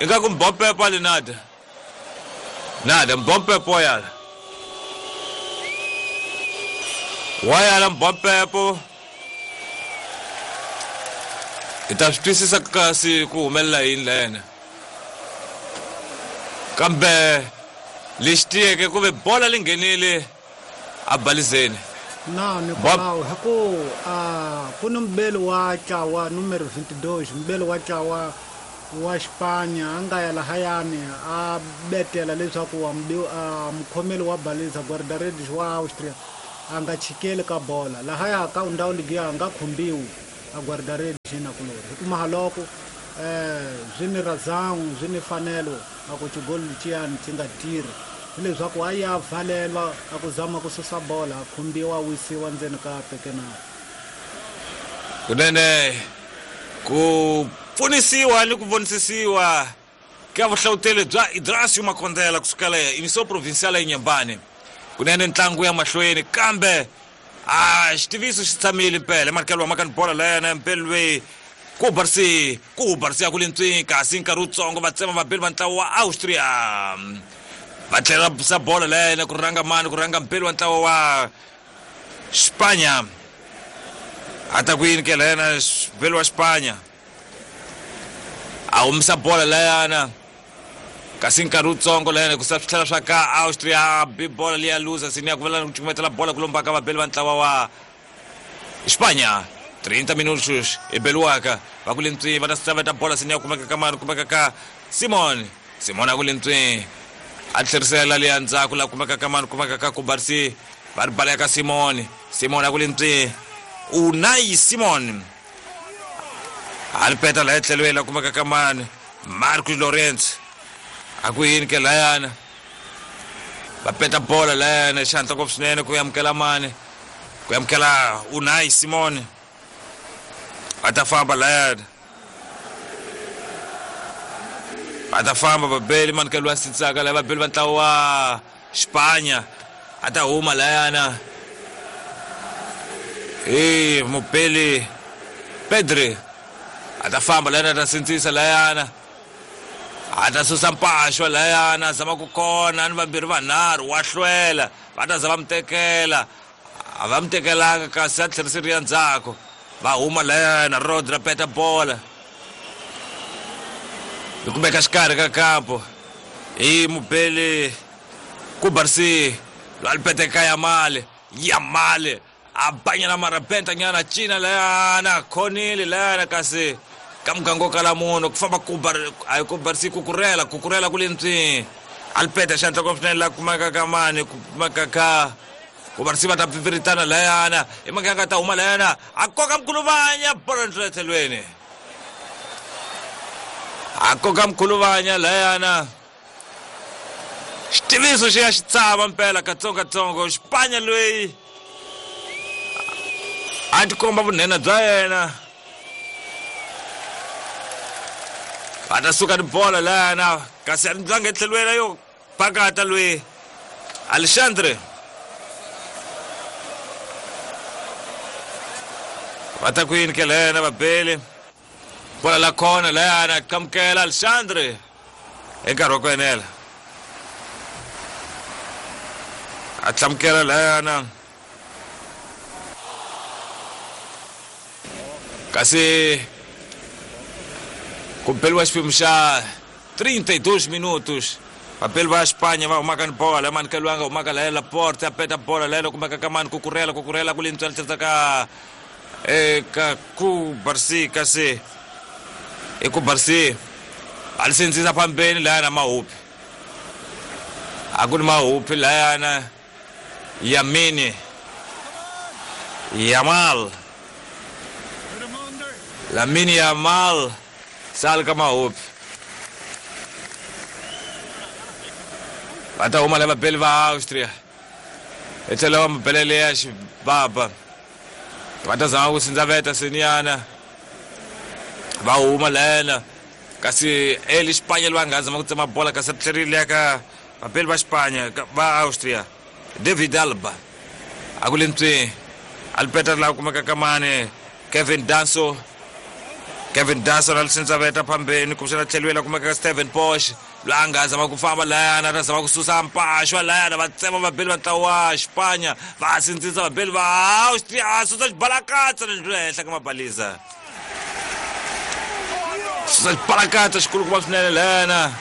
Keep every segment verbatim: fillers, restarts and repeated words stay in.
Ingaku mbompepo ali nada. Nada mbompepo yala. Wayala mbompepo. Itashtwisisa kasi ku humelela yini lena. Kambe lexi tiyeke ku ve bola li nghenile a balizeni. Na Nicolau hi ku a ku ni mubeli wa ntlawa numero twenty-two mubeli wa ntlawa wa Xipanya a nga ya lahayani a betela leswaku wa mukhomeli wa baliza guarda-redes wa Austria a nga chikeli ka bola lahaya ka ndhawu liya a nga khumbiwi a guarda-redes nakulori hi ku mahaloko eh swi ni razão swi ni fanelo a ku xigolo lexiyani xi nga tirhi hileswaku a ya valelwa a ku zama ku susa bola a khumbiwa a wisiwa ndzeni ka pekenari. Kunene ku pfunisiwa ni ku vonisisiwa ka vuhlawuteli bya Idrasio Makondela kusukela União Provincial ya Inhambane. Kunene ntlangu ya mahlweni kambe a xitiviso xi tshamile mpela emarikelo wa makani bola leyana mpelwe ku barsi ku barsi ya ku lentswini kasi nkarhi wutsongo va tsema vabeli va ntlawa wa Austria va tlhela sa bola leyana ku rhanga mani ku rhanga mpeli wa ntlawa wa Xipanya a ta ku yini ke leyana mpeli wa Xipanya a humisa bola leyana kasi nkarhi wutsongo leyana ku sa swi tlhela swa ka Austria bi bola liya luza sini ya ku vela ku cukumetela bola ku lombaka vabeli va ntlawa wa Xipanya trinta minutos e beliwaka va ku lentswini va ta saveta bola sini ya kumeka ka mani kumeka ka Simon Simon a ku lentswini a tlherisela liya ndzhaku la kumeka ka mani kumeka ka Kubarsi va ri baleka Simon Simon a ku lentswini Unai Simon a ri peta laha etlhelweni la kumeka ka mani Marcos Lorenzo a ku yini ke layana va peta bola layana xihantla ngopfu swinene ku amukela mani ku amukela Unai Simon va ta famba layana va ta famba vabeli manikelo wa sintsaka laya vabeli va ntlawa wa Xipanya a ta huma layana e mubeli Pedri a ta famba layana a ta sintsisa layana a ta susa mpaxwa layana a zama ku kona ni vambirhi vanharhu wa hlwela va ta za va mu tekela a va mu tekelanga kasi a tlheriseriwa ndzhaku va huma layana Rodri peta bola yi kumeka xikarhi ka kampo hi mubeli Kubarsi loyi a pete ka Yamal Yamal a banyana marabenta nyana cina layana khonile layana kasi ka muganga wo kala munhu ku famba Kubar a Kubarsi kukurela kukurela ku lentswini a li peta xandla ngopfu swinene la kumeka ka mani kumeka ka Kubarsi va ta pfipfiritana layana i muganga ta huma layana a koka mkhuluvanya bola ndlela tlhelweni a koka mkhuluvanya layana xitiviso xi ya xi tshama mpela katsongokatsongo Xipanya loyi a tikomba vunhenha bya yena va ta suka ni bola layana kasi a ndlanga etlhelweni yo pakata loyi Alexandre va ta ku yini ke lena vabeli bola la khona layana qamukela Alexandre hi nkarhi wa ku enela a tlamukela layana kasi ku beliwa xiphemu xa trinta e dois minutos vabeli va Xipanya va humaka ni bola manikelo nga humaka laya Laporte a peta bola laya kumeka ka mani kukurela kukurela ku lentswela tlherisa ka eka Kubarsi kasi i Kubarsi a li sindzisa phambeni layana mahupi a ku ni mahupi layana Yamini Yamal Lamine Yamal sal ka mahupi va ta huma la vabeli va Austria hi tlhela va mubelele ya xibaba va ta zama ku sindzaveta siniyana va huma layana kasi eli Xipanya loyi a nga zama ku tsema bola kasi ri tlherile ya ka vabeli va Xipanya va Austria David Alba a ku lentswini a li peta laha kumeka ka mani Kevin Danso Kevin Dawson a lisindzaveta phambeni kumbexana tlheliwela kumeka ka Steven Bosch loyi a nga zama ku famba layana a ta zama ku susa mpaxwa layana va tsema vabeli va ntlawa wa Xipanya va sindzisa vabeli va Austria a susa xibalakatsa lexi henhla ka mabalisa susa xibalakatsa xikulukumba swinene layana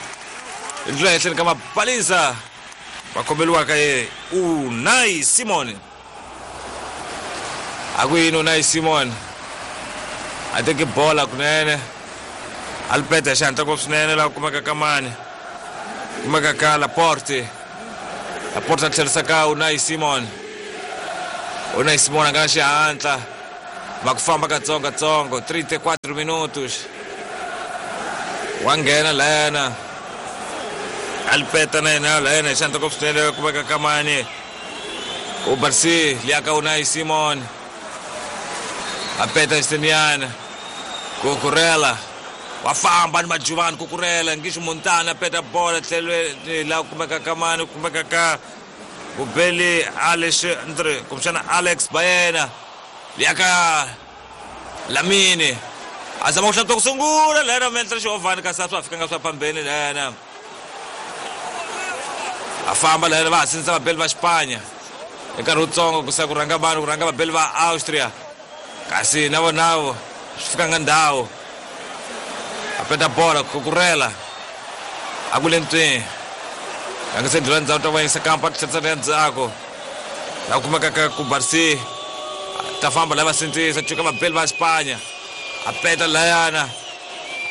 ndlela henhleni ka mabalisa va kombeliwaka ye Unai Simon a ku yini Unai Simon a teke bola kunene a li peta hi xihatla ngopfu swinene laha kumeka ka mani kumeka ka Laporte Laporte a tlherisa ka Unai Simon Unai Simon a nga na xihatla va ku famba katsongokatsongo trinta e quatro minutos wa nghena layana a li peta na yena layana hi xihatla ngopfu swinene kumeka ka mani Ubarsi liya ka Unai Simon a peta Esteniana Kukurela wa famba ni majuvani Kukurela ngisho Montana a peta bola tlhelweni laha kumeka ka mani kumeka ka Bubeli Alexandre kumbexana Alex Baena liya ka Lamine a zama ku hlantswa ku sungula layana mentle xihovhani kasi a swa ha fikanga swa phambeni layana a famba layana va ha sindzisa vabeli va Xipanya hi nkarhi wutsongo ku sa ku rhanga vanhu ku rhanga vabeli va Austria kasi na vonavo swi fikanga ndhawu a peta bola Kukurela a ku le ntswini a nga se ndlula ndzhaku ta vayisa kampa a tlherisa ya ndzhaku laha kumeka ka Kubarsi ta famba laha va sindzisa cuka vabeli va Xipanya a peta layana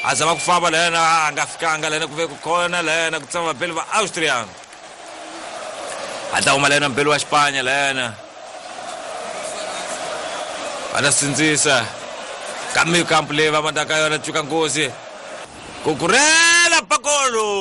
a zama ku famba layana a nga fikanga layana ku ve ku khona layana ku tsama vabeli va Austria a ta huma layana mbeli wa Xipanya layana va ta sindzisa ka mikampu leyi va mandaka yona cuka nghozi Kukurela pakolo